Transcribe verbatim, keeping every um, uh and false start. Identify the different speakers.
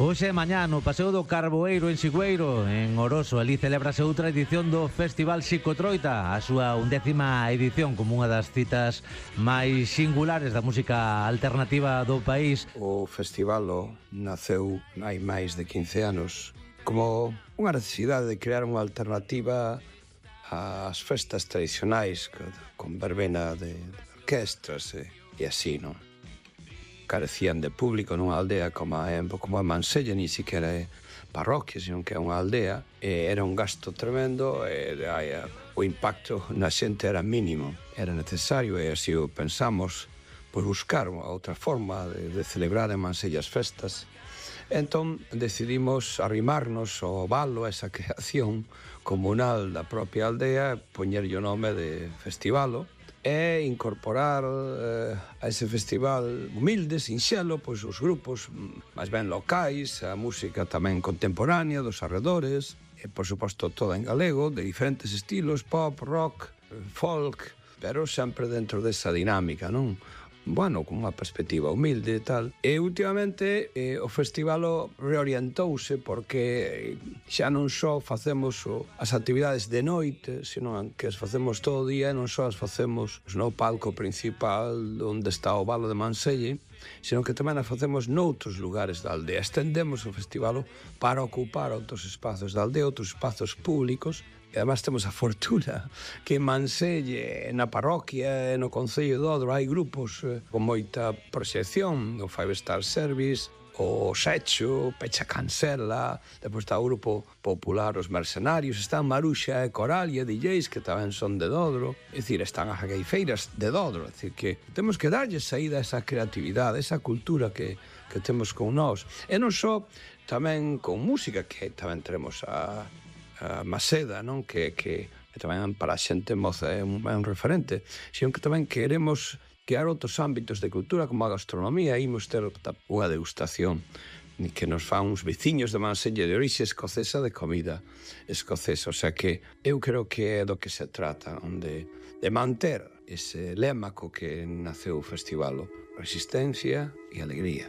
Speaker 1: Hoxe e mañá no Paseo do Carboeiro en Sigüeiro, en Oroso, ali celébrase outra edición do Festival Psicotroita, a súa undécima edición, como unha das citas máis singulares da música alternativa do país.
Speaker 2: O festival naceu hai máis de quince anos como unha necesidade de crear unha alternativa ás festas tradicionais con verbena de orquestras e, e así, non? Carecían de público nunha aldea como a, como a Mansella, ni siquiera é parroquia, sino que é unha aldea, e era un gasto tremendo, e, e, o impacto na xente era mínimo, era necesario, e así o pensamos, por buscar unha outra forma de, de celebrar en Mansella as festas. Entón decidimos arrimarnos ao valo, a esa creación comunal da propia aldea, poñerlle o nome de Festivalo, e incorporar eh, a ese festival humilde, sinxelo, pois os grupos máis ben locais, a música tamén contemporánea dos arredores, e, por suposto, toda en galego, de diferentes estilos, pop, rock, folk, pero sempre dentro desa dinámica, non? Bueno, con unha perspectiva humilde e tal. E últimamente eh, o festival reorientouse porque xa non só facemos o, as actividades de noite, sino que as facemos todo o día, e non só as facemos no palco principal onde está o Valo de Mansella, sino que tamén as facemos noutros lugares da aldea. Estendemos o festival para ocupar outros espazos da aldea, outros espazos públicos. E además temos a fortuna que en Mansella, na parroquia e no Concello de Odro hai grupos eh, con moita proxección, o Five Star Service, o Sexo, Pecha Cancela, depois está o grupo popular Os Mercenarios, están Maruxa e Coral e D Js que tamén son de Dodro, é dicir, están as gaifeiras de Dodro, é dicir, que temos que darlle saída a esa creatividade, esa cultura que, que temos con nós, e non só tamén con música, que tamén tenemos a a Maseda, non? Que, que, que tamén para a xente moza é un, é un referente, sino que tamén queremos crear outros ámbitos de cultura como a gastronomía. Imos ter unha degustación que nos fan uns veciños de Mansella de orixe escocesa de comida escocesa, o sea que eu creo que é do que se trata, onde de manter ese lema co que naceu o festival, resistencia e alegría.